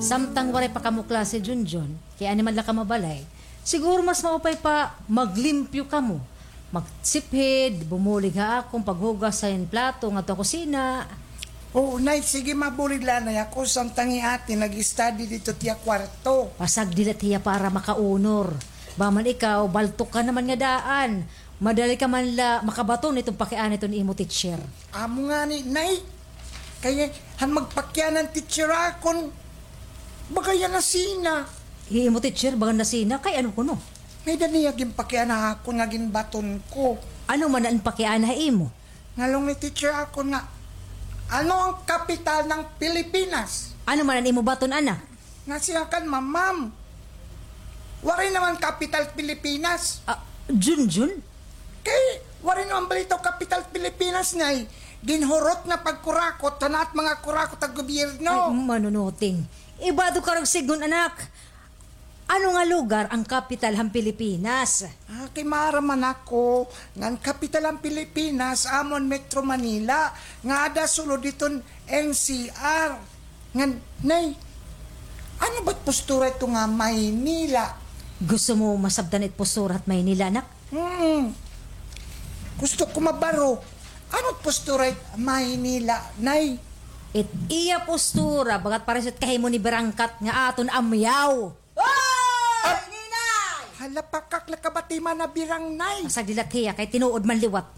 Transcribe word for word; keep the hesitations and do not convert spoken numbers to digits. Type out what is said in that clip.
Samtang waray pa kamo klase, Junjun, kay ani man la ka mabalay, siguro mas maupay pa maglimpyo kamo. Magsiphid, bumulig ha akon paghugas han plato ngadto ha kusina. Oo, Nay, sige, mabulig la anay ako, samtang hi Ate nag-study didto ha iya kwarto. Pasagdi la it hiya para makaunor. Baka man ikaw, baltok ka naman nga daan. Madali ka man la makabaton hiton pakiana hiton imo teacher. Amo ngani, Nay. Kay han magpakiana an teacher ha akon, baga hiya nasina. Hi imo teacher, baga nasina, kay ano kuno? May-ada niya ginpakiana ha akon nga ginbaton ko. Ano man an pakiana ha imo? Ngalong ni teacher ha akon nga, "Ano ang kapital ng Pilipinas?" Ano man an imo baton, anak? Nasiyakan, ma'am. Waray naman kapital Pilipinas. Ah, Junjun? Kay, waray naman balitaw kapital Pilipinas, Nay. Ginhurot nga pagkurakot han at mga kurakot ha gobyerno. Ay, manunuting. Ibado ka rag sidngon, anak. Ano nga lugar an kapital han Pilipinas? Ah, kay maaram man ako nga an kapital han Pilipinas amo an Metro Manila, nga ada sulod hiton N C R. Ngan, Nay, ano ba it postura ito nga Maynila? Gusto mo masabtan it postura hit Maynila, anak? Hmm. Gusto ko mabaro. Ano it postura hit Maynila, Nay? It iya postura, bagat pareho it kahimo ni Birangkat nga aton amyaw. Oy, Ninay! Hala, pakak la ka ba it imo nga Birang, Nay. Pasagdi la it hiya, kay tinuod man liwat.